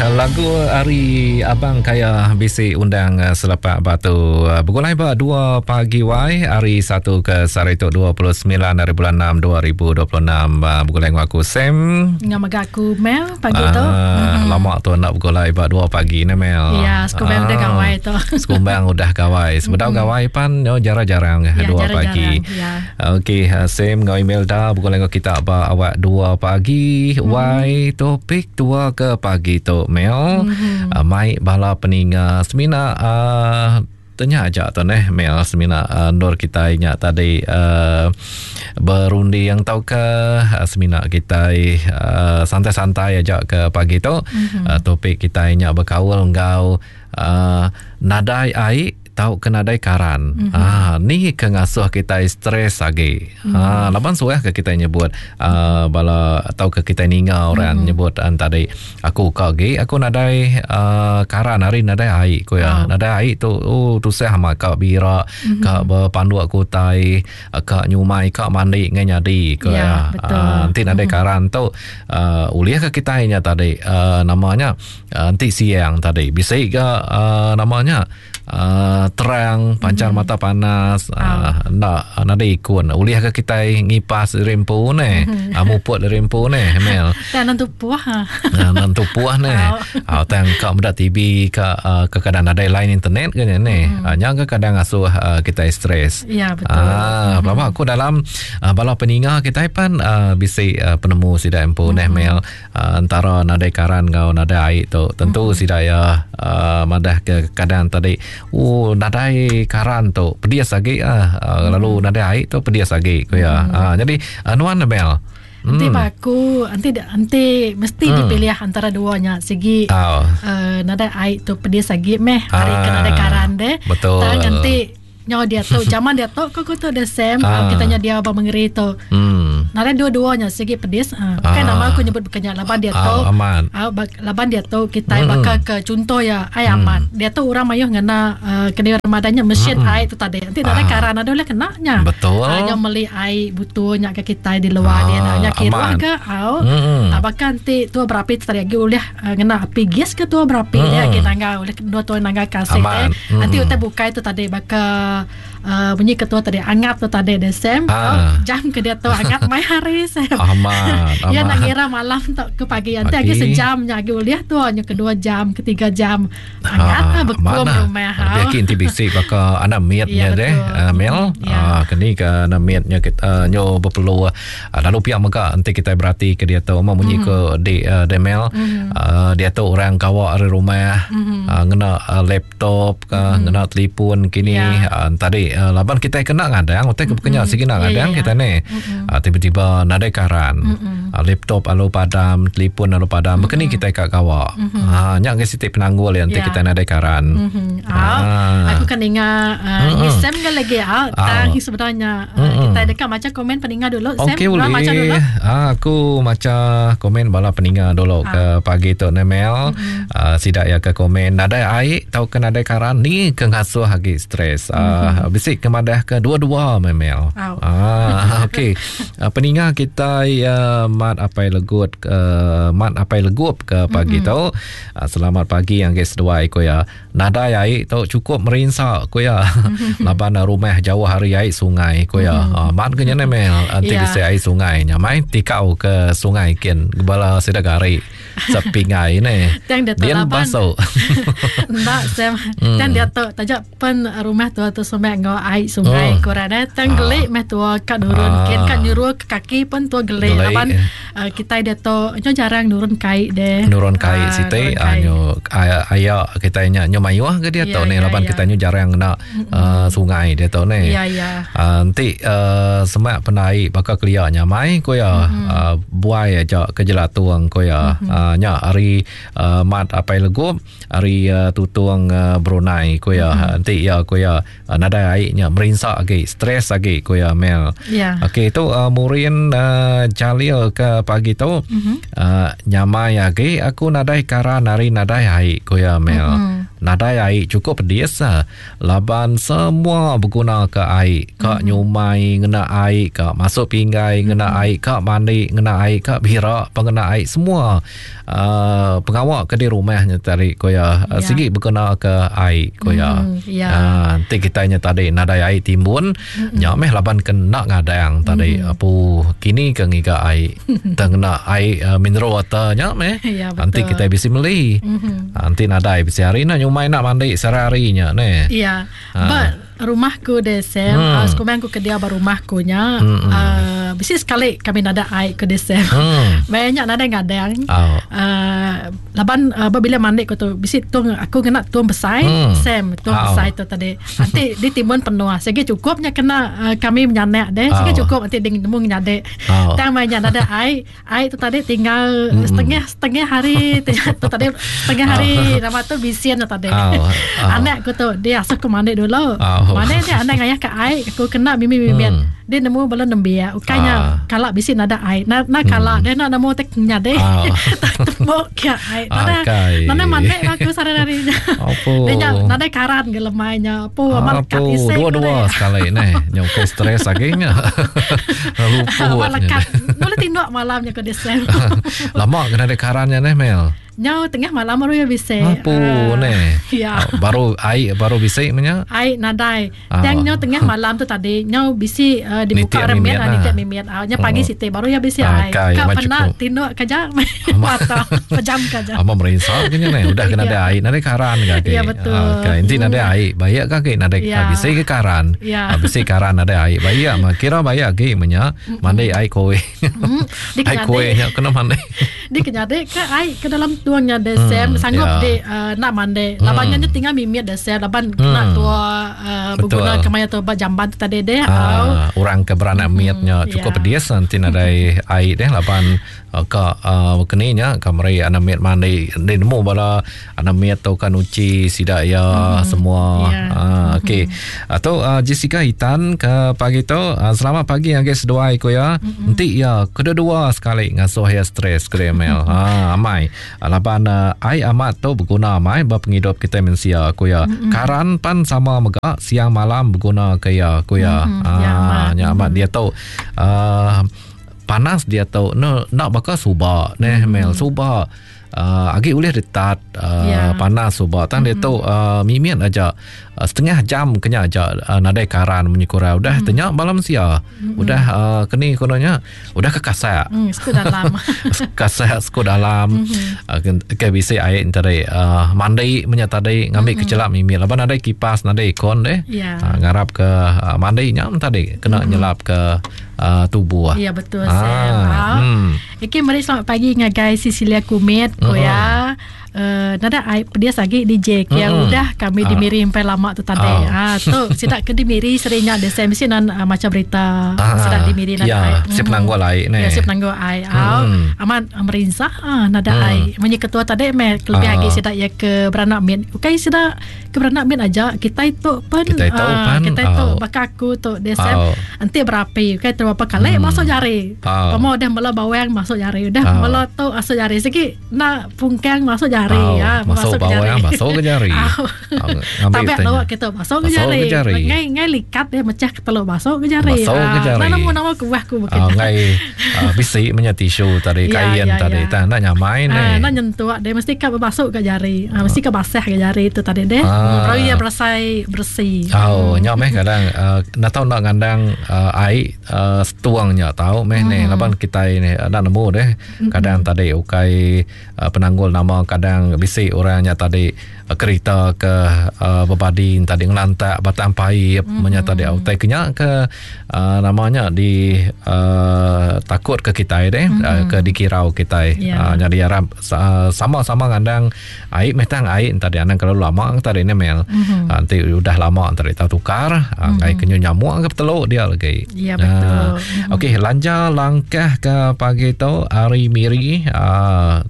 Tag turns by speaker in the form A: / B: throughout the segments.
A: Lagu ari Abang Kaya bisi undang selepak batu. Begulai ba 2 pagi wai hari 1 ke sehari tu 29 hari bulan 6 2026. Begulai enggau aku Sam.
B: Enggau mega aku Mel pagi tu.
A: Ah, lama tu enda begulai ba 2 pagi ne Mel.
B: Ya, sekumbang udah gawai tu.
A: Sekumbang udah gawai. Sebedau gawai pan yo jarang-jarang 2 pagi.
B: Ya.
A: Okey, Sam enggau Imelda begulai enggau kita ba awak 2 pagi. Wai topik tua ke pagi tu Mel. Mm-hmm. Mai bala peninga semina uh, tanya aja tu neh Mel semina uh, endur kita nya tadi uh, berunding tauka uh, semina kita uh, santai-santai aja ke pagi tu. Mm-hmm. Uh, topik kita nya bekaul enggau uh, nadai ai tauka nadai karan. Mm -hmm. Ah, ni ke ngasuh kitai stres agi. Mm -hmm. Ah, laban suah ke kitai nyebut uh, bala tauka kitai ninga orang mm -hmm. nyebut an tadi aku ka agi aku nadai uh, karan hari nadai ai ku ya. Oh. Nadai ai tu oh tusah amat ka bira mm -hmm. ka bepanduk ku utai ka nyumai ka mandi ngai nyadi ku ya.
B: ya.
A: Uh, enti nadai mm -hmm. karan tu uh, ulih ke kitai nya tadi uh, namanya uh, enti siang tadi bisi ga uh, namanya Uh, terang pancar mm-hmm. mata panas uh, enda nadai ikun ulih ke kitai ngipas diri empu ne mm-hmm. uh, muput diri empu ne Mel
B: tang nentu puah
A: ha uh, nentu puah ne uh, tang ka meda TV ka uh, kadang nadai line internet ke ne mm-hmm. uh, nya ke kadang asuh uh, kitai stres
B: ya betul
A: ah uh, mm-hmm. aku dalam uh, bala peninga kitai pan uh, bisi uh, penemu sida empu mm-hmm. neh Mel entara nadai karan enggau nadai ai tu tentu mm-hmm. sida iya uh, madah ke kadang tadi oh nadai karan tu pedis agi ah uh, mm-hmm. lalu nadai ai tu pedis agi ku iya mm-hmm. uh, jadi uh, nuan Mel
B: Nanti mm. aku nanti nanti mesti mm. dipilih antara duanya sigi oh. uh, nadai ai tu pedis agi meh hari ah, ke nadai karan deh.
A: Betul.
B: Tang nanti Nyau diatu zaman diatu ko ku tu the same ah. kita nya dia ba mengeri tu.
A: Hmm.
B: Nadai dua-dua nya sigi pedis. Ah. Bukan ah. nama aku nyebut bukan nya laban diatu.
A: Ah, amat.
B: Ah, laban diatu kita hmm. baka ke contoh ya ai hmm. amat. Diatu orang mayuh ngena uh, kena Ramadan nya mesin hmm. ai tu tadi. Nanti nadai ah. karan ada boleh kena nya.
A: Betul.
B: Ah, nya meli ai butuh nya ke kita di luar ah, dia nya kira ke au.
A: Hmm.
B: Ah, bahkan ti tua berapi tu tadi agi ulih uh, ngena api gas ke tua berapi hmm. dia agi nangga ulih dua tua nangga kasih.
A: Hmm.
B: Nanti utai bukai tu tadi baka uh, bunyi ketua tadi angap tu tadi deh Sam.
A: Ah.
B: Oh, jam ke dia tu angap mai hari Sam.
A: Amat.
B: Ya nak ngira malam tu ke pagi nanti lagi sejam nya agi ulih tu nya kedua jam ketiga jam. Angap ah, bekum rumah.
A: Lebih agi enti bisi baka anak mit nya
B: ya,
A: deh uh, Mel.
B: Ya.
A: Ah, keni ke anak mit nya kita uh, nyo beperlu uh, lalu pia mega enti kita berati ke dia tu mau munyi mm. ke di uh, Demel
B: mm.
A: uh, dia tu orang kawa ari rumah
B: mm.
A: uh, ngena uh, laptop ke mm. ngena telefon kini
B: yeah.
A: uh, tadi uh, laban kita kena ngadang utai ke kena
B: mm.
A: sigi nak ngadang
B: yeah, yeah,
A: kita ni
B: mm.
A: uh, tiba-tiba nadai karan
B: mm.
A: uh, laptop alu padam telefon alu padam
B: mm.
A: bekeni kita ka kawa
B: mm.
A: uh, nya ke siti penanggul yang
B: yeah.
A: kita nadai karan
B: mm-hmm.
A: Ah.
B: Aku kan ingat uh,
A: Mm-mm.
B: Sam kan lagi ah, tang sebenarnya uh,
A: Mm-mm.
B: kita dekat baca komen peninga dulu Sam
A: Okey
B: Nuan
A: boleh.
B: baca dulu
A: Ah, aku baca komen bala peninga dulu
B: Ah.
A: ke pagi tu Nemel.
B: Mm-hmm.
A: Ah, sidak ya ke komen nadai ai tau ke nadai karan ni ke ngasuh agi stres. Ah,
B: Mm-hmm.
A: bisi ke madah ke dua-dua Memel.
B: Au.
A: Ah, okey. Ah, peninga kita ya Mat Apai Legut uh, Mat Apai Legup ke pagi
B: Mm-hmm.
A: tu. Ah, selamat pagi yang ke seduai ko ya. Nadai ai tu cukup merinsa ko ya. Laban rumah jauh hari ai sungai ko ya.
B: Mm-hmm.
A: Ah, mat ke nya Mel enti
B: Ya.
A: bisi ai sungai nya mai tikau ke sungai kin bala sida gari sepingai ne.
B: Tang dia tu
A: Dian
B: laban.
A: baso.
B: Enggak Sam.
A: Hmm.
B: Tang dia tu tajak pen rumah tua tu semak ngau ai sungai
A: Oh.
B: korang eh. Tang gelik meh tua kat nurun
A: Ah.
B: kin kat nyuruh ke kaki pun tua gelik
A: Gelik,
B: laban
A: eh.
B: uh, kita dia tu nyo jarang nurun kai deh.
A: Nurun kai
B: Ah,
A: siti
B: nurun kai.
A: nyo aya kita nya nyo mayuh ke dia
B: Ya,
A: tu ne
B: ya,
A: laban
B: ya.
A: kita nyo jarang kena uh, sungai dia tu ne.
B: Ya ya.
A: Uh, enti uh, semak penai baka kelia nyamai ko ya
B: Mm-hmm.
A: uh, buai aja ke jelatung ko ya
B: Mm-hmm.
A: uh, nya hari uh, mat apai legup hari uh, tutung uh, Brunei ko ya
B: Mm-hmm.
A: enti ya ko ya uh, nadai ai nya merinsa agi stres agi ko ya Mel.
B: Ya.
A: Okey tu uh, Murin uh, Jalil ke pagi tu
B: Mm-hmm.
A: uh, nyamai agi aku nadai karan hari nadai ai ko ya Mel.
B: Mm-hmm.
A: Nadai ai cukup pedis laban semua beguna ke ai ka nyumai ngena ai ka masuk pinggai ngena ai ka mandi ngena ai ka bira pengena ai semua uh, pengawa ke di rumah nya tadi ko ya yeah. sigi beguna ke ai ko ya mm, yeah. uh, enti kita nya tadi nadai ai timbun mm-hmm. nya meh laban kena ngadang tadi mm. apu kini ke ngiga ai tengena ai uh, mineral water nya meh ya, enti kita bisi meli mm-hmm. enti nadai bisi hari nak nyumai nak mandi sehari-hari nya ne
B: ya ha. but rumah ku de Sam hmm. uh, sekumang ku ke dia ba rumah ku nya hmm. uh, bisi sekali kami nada ai ke de Sam hmm. banyak nadai ngadang oh. uh, laban uh, bila mandi ku tu bisi tung aku kena tung besai hmm. Sam tung oh. besai tu tadi nanti di timbun penuh sigi cukupnya kena uh, kami menyanak deh sigi oh. cukup nanti di nemu nyadek Oh. Tang maya ada ai, ai tu tadi tinggal mm-hmm. setengah setengah hari tu tadi setengah hari oh. nama tu bisian tu tadi. Oh. Oh. Anak aku tu dia asuh aku mandi dulu. Oh. Mandi dia anak ngayah ke ai, aku kena mimi-mimi. Mm. Dia nemu bala nembiak. Ukainya oh. kala bisi nada ai. Na, na kala mm. dia nak nemu tek nyade. Oh. Tembok ke ai. Nada nada mandi aku sehari-hari. Dia nya nada karan ke lemainya.
A: Apu, amat lekat isi. Dua-dua sekali ni. Nyau ke stres lagi nya.
B: Luput. Amat lekat. Boleh tinduk malamnya ke desem.
A: Lama kena ada karannya ni Mel.
B: Nyau tengah malam baru ya bisa.
A: Apu uh, ni. Ya. Baru air baru bisa menya.
B: Air nadai. Ah. Yang nyau tengah malam tu tadi nyau bisi uh, dibuka remit lah. Nitik mimit. Uh, nya pagi oh. siti baru ya bisa ah, air. Kak pernah tinduk kerja atau pejam kerja.
A: Ama merinsa kenya ni. Udah kena ada air, nadai karan ke.
B: Ya betul.
A: Okay. Enti nadai hmm. air, baik ke ke nadai ya. bisi ke karan. Ya. Bisi karan nadai air, baik mah kira baik agi menya mandi air koe. Hmm. Air koe nya kena mandi.
B: Di kenyadi ke air ke dalam tuangnya desem hmm. sanggup ya. di uh, nak mandi. Hmm. Laban nya tinggal mimit desem laban hmm. kena tua uh, berguna ke maya tu ba jamban tu tadi deh.
A: Uh, orang ke beranak hmm. mitnya cukup ya. pedis nanti nadai air deh laban Ka keni nya ka meri anak mit mandi enti nemu bala anak mit tu ka nuchi sida iya mm-hmm. semua. Yeah. Uh, okey. Mm-hmm. Tu uh, Jessica Hitan ke pagi tu uh, selamat pagi ngagai seduai ku ya. Mm-hmm. Enti iya kedua-dua sekali ngasuh iya stres ke email. Ha amai. Laban uh, ai amat tu beguna amai ba pengidup kita mensia ku ya. Mm-hmm. Karan pan sama mega siang malam beguna ke iya ku ya. Mm-hmm. Ha ya, nya amat mm-hmm. dia tu uh, Panas diatu ne enda baka suba neh mm. Mel suba uh, agi ulih detat uh, yeah. panas suba tang mm. diatu uh, mimit aja uh, setengah jam kenya aja uh, nadai karan munyi kurang udah mm. tenya bala mensia mm. udah uh, keni kono nya udah ke kasak
B: mm, sku dalam
A: kasak sku dalam mm-hmm. uh, ke bisi ai tadi uh, mandi menya tadi ngambi mm-hmm. kecelap mimit laban nadai kipas nadai aircon deh yeah. uh, ngarap ke uh, mandi nya tadi kena mm-hmm. nyelap ke uh, tubuh.
B: Ya betul ah, Sam. Ha. Hmm. Okey mari selamat pagi ngagai Cecilia Kumit ko hmm. ya. Uh, nada ai pedia agi DJ ke hmm. udah kami di ah. Miri sampai lama tu tadi. Ah, ah tu sidak ke di Miri serinya de Sam mesti nan uh, macam berita ah, sidak di Miri
A: nada ya, ai. Si penanggul ai
B: ne. Ya si penanggul ai. Ah, hmm. amat merinsa ah nada hmm. ai. Munyi ketua tadi me lebih ah. agi sidak ya ke beranak mit. Ukai sidak Ke beranak mit aja kitai tu pen
A: kitai tu uh,
B: pan kitai tu oh. baka aku tu dia oh. enti berapi okay terapa kali hmm. masuk jari oh. pemo dah mula bawang masuk jari udah oh. mula tu masuk jari segi nak pungkang masuk jari
A: oh. ya masuk, masuk bawang ke jari. masuk ke jari
B: oh. Tapi lawa kita masuk ke jari. jari. Ngai ngai likat dia mecah ke telur masuk ke jari.
A: Masuk ke jari.
B: Nah, nama nama kuah ku
A: begitu. Oh, ngai uh, bisi menya tisu tadi ya, kain ya, tadi. Ya. Tak nak nyamai
B: ni. Uh, nak nyentuh dia mesti ka masuk ke jari. Uh, mesti ka basah ke jari tu tadi deh. Ah. Baru iya berasai bersih.
A: Oh, nya meh kadang uh, nak tahu nak ngandang uh, ai uh, setuang nya tahu meh mm. ni laban kitai ni nak nemu deh. Kadang mm. tadi ukai uh, penanggul nama kadang bisi orang nya tadi kerita ke uh, bebadi tadi ngelantak batang paip mm-hmm. menya tadi utai kenya ke uh, namanya di uh, takut ke kitai deh mm-hmm. uh, ke dikirau kitai yeah. uh, nyadi arap uh, sama-sama ngandang ai meh tang ai tadi anang kalau lama tadi ne mel mm-hmm. uh, nanti udah lama tadi tau tukar uh, mm-hmm. ngai kenyu nyamuk ke teluk dia lagi
B: ya yeah, betul uh,
A: mm-hmm. okey lanja langkah ke pagi tu hari miri uh,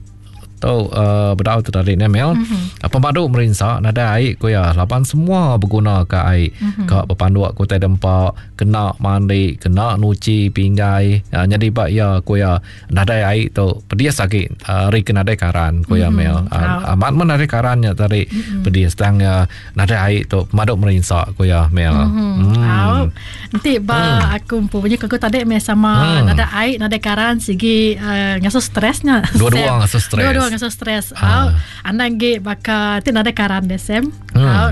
A: Tu uh, bedau tu tadi ne Mel. Mm-hmm. Pemadu merinsa nadai ai ku ya laban semua beguna ka ai. Mm-hmm. Ka bepanduk ku tai dempa, kena mandi, kena nuci pinggai. Uh, nyadi ba ya ku ya nadai ai tu pedis agi uh, ari ke nadai karan ku ya mm-hmm. Mel. Uh, amat men nadai karan nya tadi mm-hmm. pedis tang ya nadai ai tu pemadu merinsa ku ya Mel.
B: Mm-hmm. Mm. Au. Enti ba mm. aku empu punya aku tadi meh sama mm. nadai ai nadai karan sigi uh, ngasuh stres nya.
A: Dua-dua ngasuh stres.
B: Dua-dua ngasuh stres. Au. Anang ge baka ti nadai karan deh Sam. Mm. Au.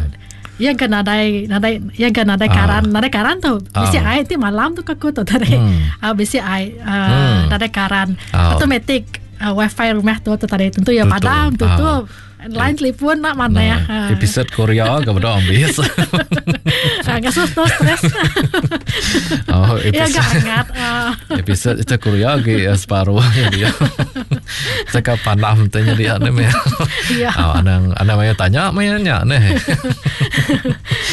B: Iya ga nadai nadai iya ga nadai karan, nadai karan tu. Bisi ai ti malam tu aku tu tadi. Mm. Au bisi ai uh, mm. nadai karan. Automatic uh, wifi rumah tu tu tadi tentu ya padam tutup. Line telefon nak mana ya.
A: Ha. Episode Korea ke beda ambis.
B: Ha, ngasuh tu stres.
A: Oh, episode.
B: Ya gak hangat.
A: Episode itu Korea ke separuh ya dia. Cakap pandam tanya dia ni meh.
B: Ya.
A: Oh, anang anang maya tanya maya nya ni.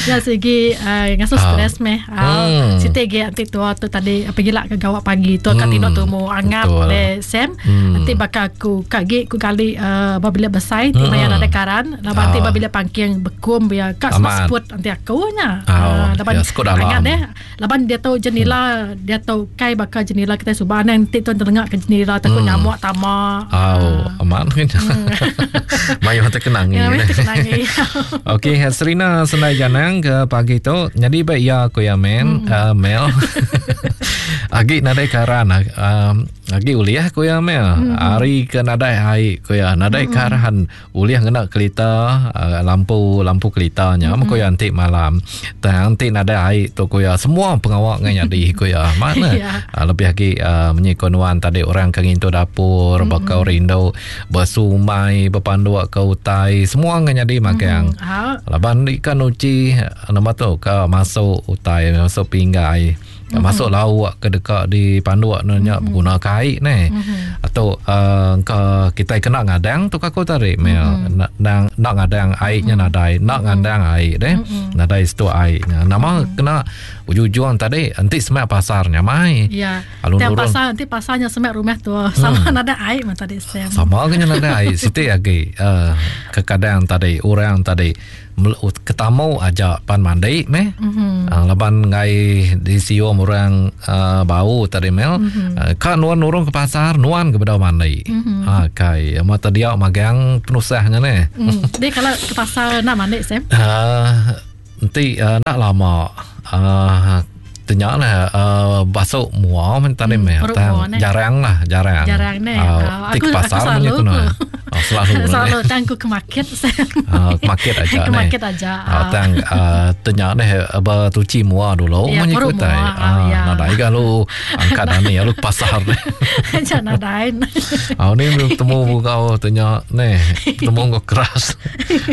B: Ya segi uh, ngasuh stres meh. Uh, hmm. Siti ge anti tua tu tadi pergi lah ke gawak pagi tu kat tinduk tumu angat le Sam. Hmm. Nanti baka aku ka gi ku kali uh, ba bilik besai ti maya nadai karan laban ti ba bilik pangking bekum biar ka semua seput anti aku nya.
A: Uh, laban ya,
B: angat deh laban dia tu jenila hmm. dia tu kai baka jenila kita suba anang ti tu telengak ke jenila takut hmm. nyamuk tama.
A: Oh, uh, aman kan. Hmm. Mayu terkenangi.
B: Ya, terkenangi.
A: Okey, Serina Senai Janang ke pagi tu jadi baik ya aku ya men hmm. uh, Mel. Agi nadai karan um, Agi ulih ku iya meh. Mm-hmm. Ari ke nadai ai ku iya, nadai mm-hmm. karan ulih ngena kelita uh, lampu lampu kelita nya mm-hmm. ku iya enti malam. Tang enti nadai ai tu ku iya semua pengawa ngai nyadi ku iya. Mana yeah. uh, lebih agi uh, munyi ku nuan tadi orang ke ngintu dapur mm-hmm. baka orang indu besumai bepanduk ke utai semua ngai nyadi magang. Mm-hmm. Laban ikan uci nama tu ka masuk utai masuk pinggai. Mm-hmm. Masuk lauk ke deka dipanduk ne nya mm-hmm. beguna ke ai ne. Mm-hmm. Atau uh, ke kita kena ngadang tu aku tadi mel mm-hmm. nak nak, nak ngadang ai nya mm-hmm. nadai, nak mm-hmm. ngadang ai deh. Mm-hmm. Nadai situ ai nya. Nama mm-hmm. kena ujung-ujung tadi enti semak pasar nya mai.
B: Ya. Lalu nurun. pasar enti pasarnya semak rumah tu sama hmm. nadai ai mah tadi
A: Sam. Sama ke nya nadai ai siti agi uh, kekadang tadi orang tadi Ketamu aja pan mandi meh. Mm-hmm. Uh, laban ngai disium orang uh, bau tadi mel. Mm-hmm. Uh, ka nuan nurung ke pasar, nuan ke bedau mandi. Mm-hmm. Ha kai mata dia magang penusahnya ne.
B: Mm. Dia kalau ke pasar nak mandi Sam?
A: Uh, enti uh, nak lama uh, Tenya lah uh, basuk mua men tadi meh. Tang jarang lah, jarang.
B: Jarang ne. Uh,
A: uh, aku, pasar aku selalu
B: ku. Oh, selalu. selalu tang ku ke market.
A: uh, ke market aja
B: ne. Ke market aja.
A: Uh, tang uh, tenya neh bertuci mua dulu
B: ya,
A: munyi ku tai.
B: Uh, ya.
A: Nadai ga lu angkat ani lu ke pasar ne.
B: Jangan nadai.
A: Ah ni bertemu kau tenya neh, bertemu kau keras.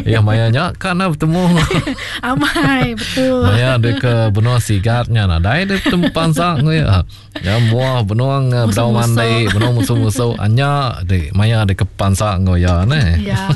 A: Ya maya nya kan bertemu.
B: Amai betul.
A: Maya dia ke benua sigat nya nadai dia betemu pansa ngui. Ya mua benua bedau mandi, benua musuh-musuh anya di maya dia ke pansa ngui ya ne.
B: Ya.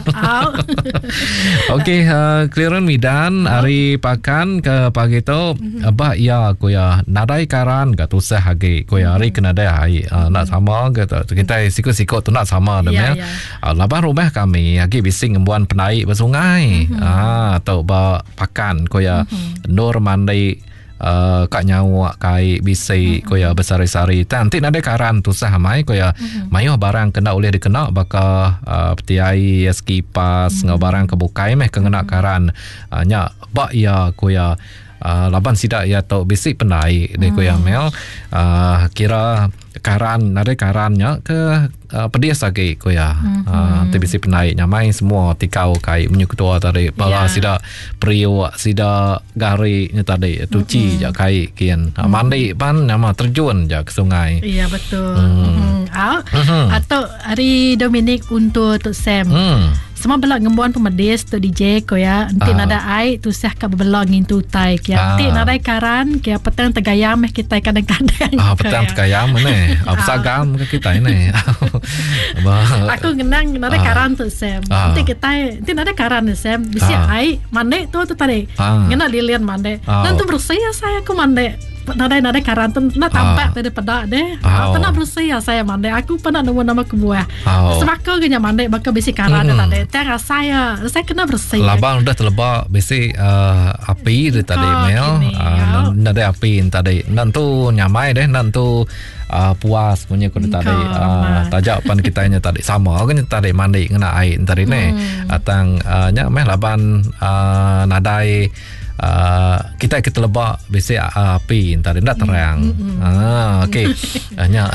A: Okey, uh, clearance midan hari pakan ke pagi tu mm-hmm. bah ya ku ya nadai karan ga tusah agi ku ya hari ke nadai ai uh, nak sama ke tu kita sikut-sikut tu nak sama dah ya. Ya. Uh, laban rumah kami agi bisi ngembuan pendai ba sungai. Mm-hmm. Ah tu ba pakan ko ya. Mm-hmm. Endur mandi uh, ka nyawa kai bisi mm-hmm. ko ya besari-sari. Tang ti nadai karan tusah amai ko ya. Mm-hmm. Mayuh barang kena ulih dikena baka uh, peti ai, kipas mm-hmm. enggau barang ke bukai meh ke ngena mm-hmm. karan. Uh, nya ba iya ko ya. Uh, laban sida iya tu bisi pendai deh ko iya mel. Uh, kira karan nadai karan nya ke uh, pedis agi ko iya. Mm-hmm. Uh, ti bisi pendai nyamai semua tikau kai menyu ketua tadi bala yeah. sida periuk sida gari nya tadi tuci mm-hmm. ja kai kin. Uh, mandi pan nama terjun ja ke sungai.
B: Ya yeah, betul. Mm. Mm-hmm. Au. Mm-hmm. Atau hari Dominic untuk Tok Sam. Mm. Sama bela ngembuan pemedis tu DJ ko ya. Enti ah. nadai ai tusah ka bebela ngintu utai kia. Ah. Enti nadai karan kia petang tegayam meh kitai kadang-kadang.
A: Ah petang ya. tegayam ne. Ah besagam ke kitai ne.
B: Aku ngenang nadai ah. karan tu Sam. Ah. Enti kitai enti nadai karan ni Sam, bisi ah. ai mandi tu tu tadi. Ah. Ngena lilin mandi. Ah. Nentu bersih asai aku mandi. Nadai nadai karan tu nak tampak tadi peda deh. Oh. Pernah bersih ya saya mandi. Aku pernah nemu nama kebuah. Oh. Sebaka ke nya mandi baka bisi karan mm. tadi. Tang saya saya kena bersih.
A: Labang udah teleba bisi uh, api dia tadi mel. Uh, nadai api tadi. Nan tu nyamai deh nan tu uh, puas punya ku tadi. Uh, tajak pan kita nya tadi sama ke nya tadi mandi ngena air tadi mm. ne. Atang uh, nya meh laban uh, nadai Uh, kita ke teleba bisi uh, api entah enda terang. Mm-hmm. Ah okey. uh, nya.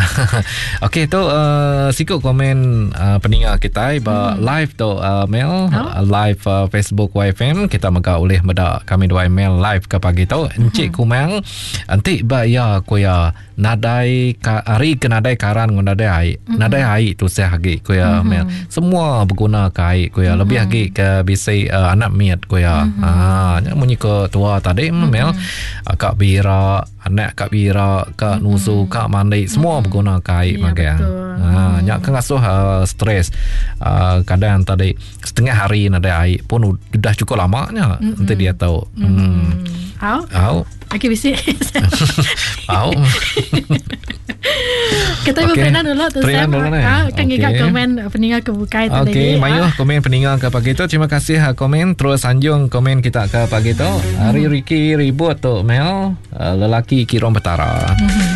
A: okey tu uh, siku komen uh, peninga kita ba mm. live tu uh, mail oh. uh, live uh, Facebook YFM kita mega ulih meda kami dua email live ke pagi tu. Encik mm-hmm. Kumang enti ba ya ku ya nadai ka, hari ke nadai karan ngau nadai ai mm-hmm. nadai ai tusah agi ku ya mm-hmm. semua beguna ke ai ku ya mm-hmm. lebih agi ke bisi uh, anak miat ku ya mm-hmm. ha nya munyi ke tua tadi mm-hmm. mel uh, kak bira anak kak bira kak mm-hmm. nusu kak mandi semua mm-hmm. beguna ke ai ya, magang ha nya ke ngasuh uh, stres uh, kadang tadi setengah hari nadai ai pun udah cukup lama nya mm-hmm. enti dia tau mm-hmm.
B: hmm. Au. Au. Okey bisi.
A: Au.
B: Kita okay. Perinan dulu tu
A: Sam. Dulu ni.
B: Ha, kan okay. komen peninga ke bukai
A: tadi. Okey, mayuh ha. komen peninga ke pagi tu. Terima kasih ha, komen terus anjung komen kita ke pagi tu. Hari Ricky ribut tu Mel, eh, lelaki Kirom Petara. Mm-hmm.